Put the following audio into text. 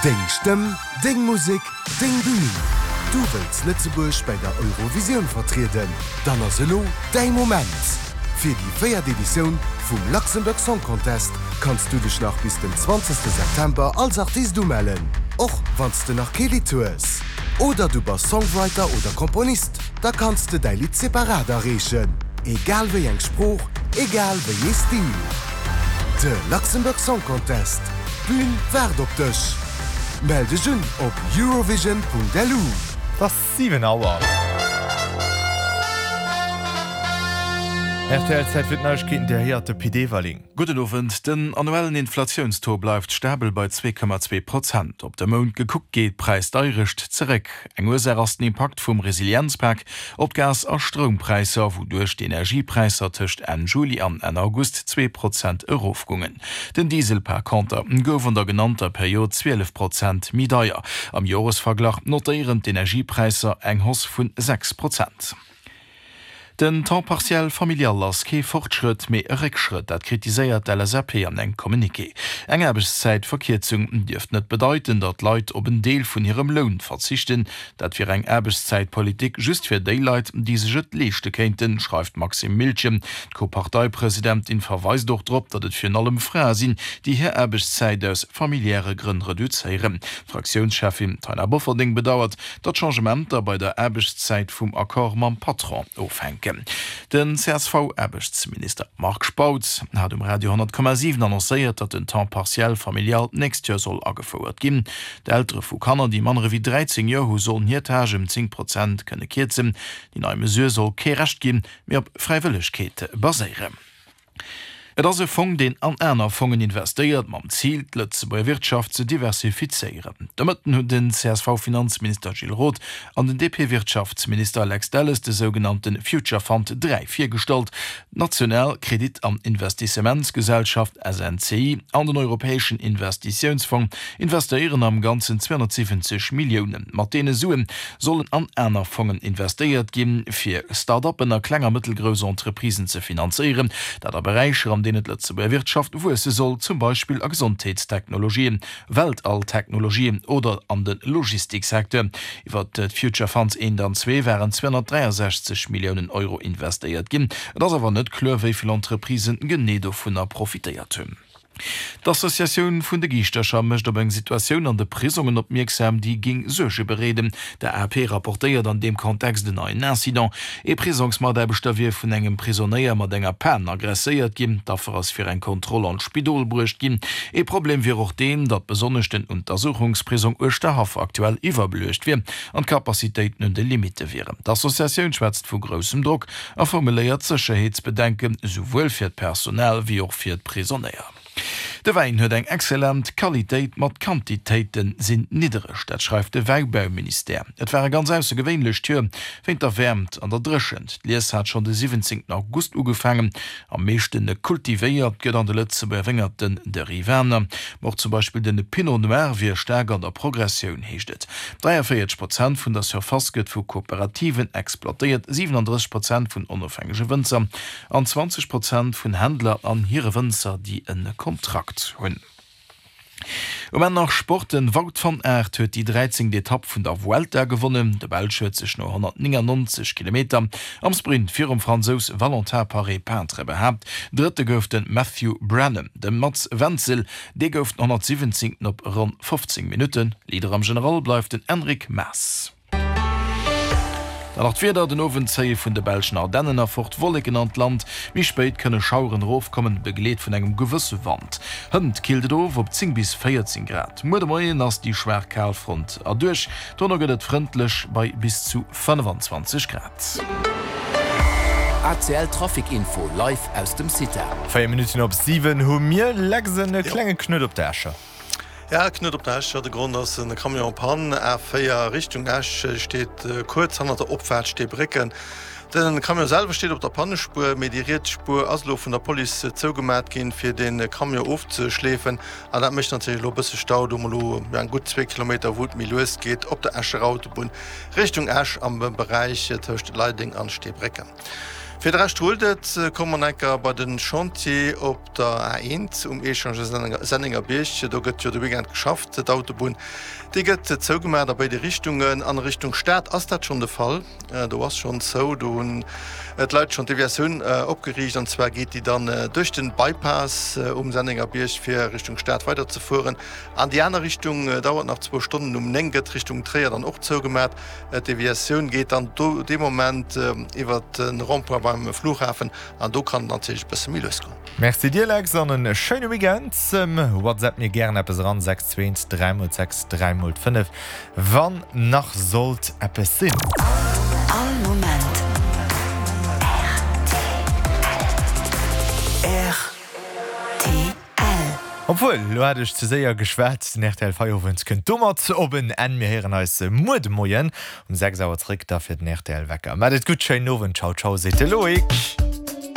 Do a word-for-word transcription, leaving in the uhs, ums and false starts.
Deng Stëmm, deng Musek, deng Bün! Du wëlls Lëtzebuerg bei der Eurovisioun vertrieden? Dann ass elo däi Moment! Fir déi véiert Editioun vum Luxembourg Song Contest kanns du dech nach bis den zwanzegste September als Artist umellen, och wann s de nach kee Lidd hues. Oder du bass Songwriter oder Komponist, da kanns de däi Lidd separat areechen. Egal wéi eng Sprooch, egal wéi ee Stil. De Luxembourg Song Contest, d'Bün waart op dech! Mell dech un op eurovision.lu. Et ass siwen Auer. Rtl, Zäit fir d'Neiegkeeten, Dir héiert de Pit Everling. Gudden Owend. Den annuellen Inflatiounstaux bleift stabel bei zwee Komma zwee Prozent. Op de Mount gekuckt geet d'Präisdeierecht zeréck. Eng Ursaach ass den Impakt vum Resilienzpak op d'Gas a Stroumpräisser, wouduerch d'Energiepräisser tëscht Enn Juli an Enn August zwee Prozent erofgoungen. Den Diesel par conter gouf an der genannter Period zwielef Prozent méi deier. Am Joresverglach notéieren d'Energiepräisser eng Hausse vun sechs Prozent. Den Temps partiel familial ass kee Fortschrëtt, mee e Réckschrëtt. Dat kritiséiert d'LSAP an engem Communiqué. Eng Aarbechtszäitverkierzung dierft net bedeiten, datt Leit op en Deel vun hirem Loun verzichten. Dat wier eng Aarbechtszäitpolitik just fir déi Leit, déi sech et leeschte kéinten, schreift d'Maxime Miltgen. D'Co-Parteipresidentin verweist och drop, datt et virun allem Frae sinn, déi hir Aarbechtszäit aus familiäre Grënn reduzéieren. D'Fraktiounscheffin Taina Bofferding bedauert, datt Changementer bei der Aarbechtszäit vum Accord mam Patron ofhänken. Den C S V-Aarbechtsminister Marc Spautz hat um Radio honnert Komma siwen annoncéiert, datt den Temps partiel familial d'nächst Joer soll agefouert ginn. D'Eltere vu Kanner, déi manner ewéi dräizéng Joer hu sollen hir Tâche ëm zéng Prozent kënne kierzen. Déi nei Mesure soll kee Recht ginn, mee op Fräiwëllegkeet baséieren. Et ass e Fong, deen an aner Fongen investéiert, mam Zil, d'Lëtzebuerger Wirtschaft ze diversifizéieren. De Mëtten hunn den C S V-Finanzminister Gilles Roth an den D P-Wirtschaftsminister Lex Delles de sougenannte Future Fund dräi virgestallt. D'national Kredit an Investissementsgesellschaft, S N C I, an den Europäeschen Investitiounsfong investéieren am Ganzen zweehonnertsiwwenzeg Milliounen. Mat deene Sue sollen an aner Fongen investéiert ginn, fir Start-uppen a kleng a mëttelgrouss Entreprisen ze finanzéieren. Dat a Beräicher, an deenen d'Lëtzebuerger Wirtschaft wuesse soll, zum Beispill a Gesondheetstechnologien, Weltalltechnologien oder an de Logistiksecteur. Iwwer d'Future Funds eent an zwee waren zweehonnertdräiasechzeg Milliounen Euro investéiert ginn. Et ass awer net kloer, wéi vill Entreprisen genee dovunner profitéiert hunn. D'Associatioun vun de Giischtercher mécht op eng Situatioun an de Prisongen opmierksam, déi géing Suerge bereeden. De A P rapportéiert an deem Kontext en neien Incident. Ee Prisongsmataarbechter wier vun engem Prisonéier mat enger Pan aggresséiert ginn. D'Affer ass fir eng Kontroll an d'Spidol bruecht ginn. Ee Problem wier och deen, datt besonnesch den Untersuchungsprisong Uerschterhaff aktuell iwwerbeluecht wier an d'Capacitéiten un de Limitte wieren. D'Associatioun schwätzt vu groussem Drock a formuléiert Sécherheetsbedenken, souwuel fir d'Personal wéi och fir d'Prisonéier. De Wäin huet eng excellent Qualitéit, ma d'Quantitéite sinn niddereg. Dat schreift de Wäibauministère. Et war e ganz aussergewéinlecht Joer wéint der Wäermt an der Dréchent. D'Lies hat schonn de siwwenzéngten August ugefaangen. Am meeschte kultivéiert gëtt an de Lëtzebuerger Wéngerten de Rivaner. Ma och zum Beispill de Pinot Noir wier staark an der Progressioun, heescht et. dräiavéierzeg Prozent vun der Surface gëtt vu Kooperativen exploitéiert, siwenandrësseg Prozent vun onofhängege Wënzer an zwanzeg Prozent vun Händler an hire Wënzer, déi e Kontrakt hunn. Um Enn nach Sport, Den Wout van Aert huet déi dräizéngt Etapp vun der Vuelta gewonnen. De Belsch huet sech no honnertnéngannonzeg Kilometer am Sprint virum Fransous Valentin Paret-Peintre behaapt. Drëtte gouf de Matthew Branham. De Mats Wenzel, dee gouf den honnertsiwwenzéngten op ronn fofzéng Minutten. Leader am General bleift den Enric Mas. Dann nach d'Wieder, Den Owend zéie vun de belschen Ardennen erfort Wolleken an d'Land, méi spéit kënne Schaueren erofkommen, begleet vun engem gewësse Wand. Hënt killt et of op zéng bis véierzéng Grad. Muer de Moien ass déi schwaach Kalfront erduerch, dono gëtt et frëndlech bei bis zu fënnefanzwanzeg Grad. A C L Trafic Info live aus dem CITA. Véier Minutten op siwen hu mir. Lex, en klenge Knuet op der Escher. Ja, Knuet op der Escher. De Grond ass en Camion en panne. A véier Richtung Esch steet kuerz hannert der Opfaart Steebrécken. Den Camion selwer steet op der Pannespuer, mee déi riets Spuer ass elo vun der Police zougemat ginn, fir de Camion ofzeschleefen. An dat mécht natierlech elo e bësse Stau. Do hu mer elo eng gutt zwee Kilometer, wou et méi lues geet op der Escher Autobunn Richtung Esch am Beräich tëscht Leideng an Steebrécken. Fir de Rescht rullt et. Komme mer enker bei den Chantier op der A eent um Echange Sennengerbierg. Do gëtt jo de Weekend geschafft. D'Autobunn déi gëtt zougemaach a béide Richtungen. An Richtung Stad ass dat schonn de Fall. Do ass schonn zou. Do hunn d'Leit schonn d'Deviatioun opgeriicht an zwar geet déi dann duerch den Bypass um Sennengerbierg fir Richtung Stad weider ze fueren. An déi aner Richtung dauert nach zwou Stonnen. Um néng gëtt Richtung Tréier dann och zougemaach. D'Deviatioun geet dann do dee Moment iwwer de Rond-point beim Flughafen an do kann et natierlech e bësse méi lues goen. Merci dir Lex an en schéine Weekend. WhatsApp mir gären eppes eran, sechs zwee eent dräi mol sechs dräi mol fënnef, wann nach sollt eppes sinn. All Moment rtl. Obwuel, elo hat ech ze séier geschwat, den rtl Feierowend kënnt domat op en Enn. Mir héieren eis muer de Moien um sechs Auer zeréck, da fir den rtl Wecker. Maat et gutt, schéinen Owend, ciao ciao, seet de Loïc.